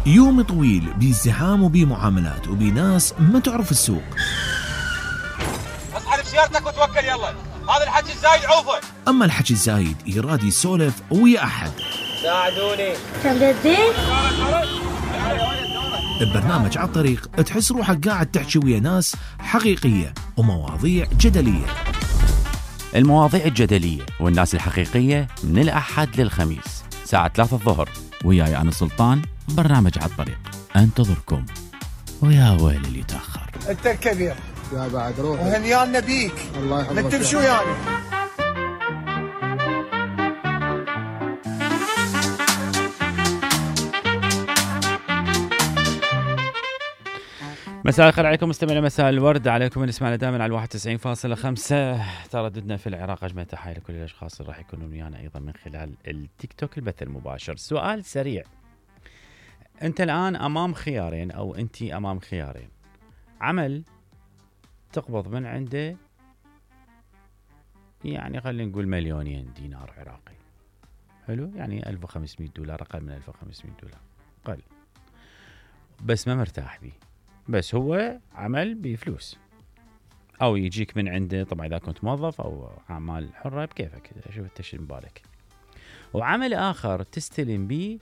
يوم طويل بازدحام وبمعاملات وبناس ما تعرف السوق. اسحب سيارتك وتوكل يلا، هذا الحكي الزايد عوفه. اما الحكي الزايد يراد يسولف ويا احد. ساعدوني. كم جدين؟ ببرنامج على الطريق تحس روحك قاعد تحكي ويا ناس حقيقية ومواضيع جدلية. المواضيع الجدلية والناس الحقيقية من الأحد للخميس ساعة 3 الظهر، وياي أنا سلطان. برنامج على الطريق انتظركم، ويا ويل اللي تأخر. انت الكبير يا بعد روح وهنيانا بيك. الله يحفظك. انت بشو يعني؟ مساء الخير عليكم مستمعينا، مساء الورد عليكم اللي يسمعنا دائما على 91.5 ترددنا في العراق. اجمل تحيه لكل الاشخاص اللي راح يكونون ويانا ايضا من خلال التيك توك البث المباشر. سؤال سريع، انت الان امام خيارين او انتي امام خيارين: عمل تقبض من عنده يعني خلينا نقول $2,000,000 عراقي، حلو، يعني $1,500، اقل من $1,500 اقل، بس ما مرتاح بيه، بس هو عمل بفلوس، او يجيك من عنده طبعا اذا كنت موظف او اعمال حره بكيفك، شوف انت شو بالك. وعمل اخر تستلم بيه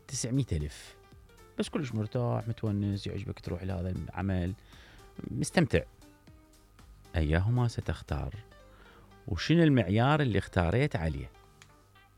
900,000 بس كلش مرتاح متونس، يعجبك تروح لهذا العمل مستمتع. ايهما ستختار؟ وشنو المعيار اللي اختاريت عليه؟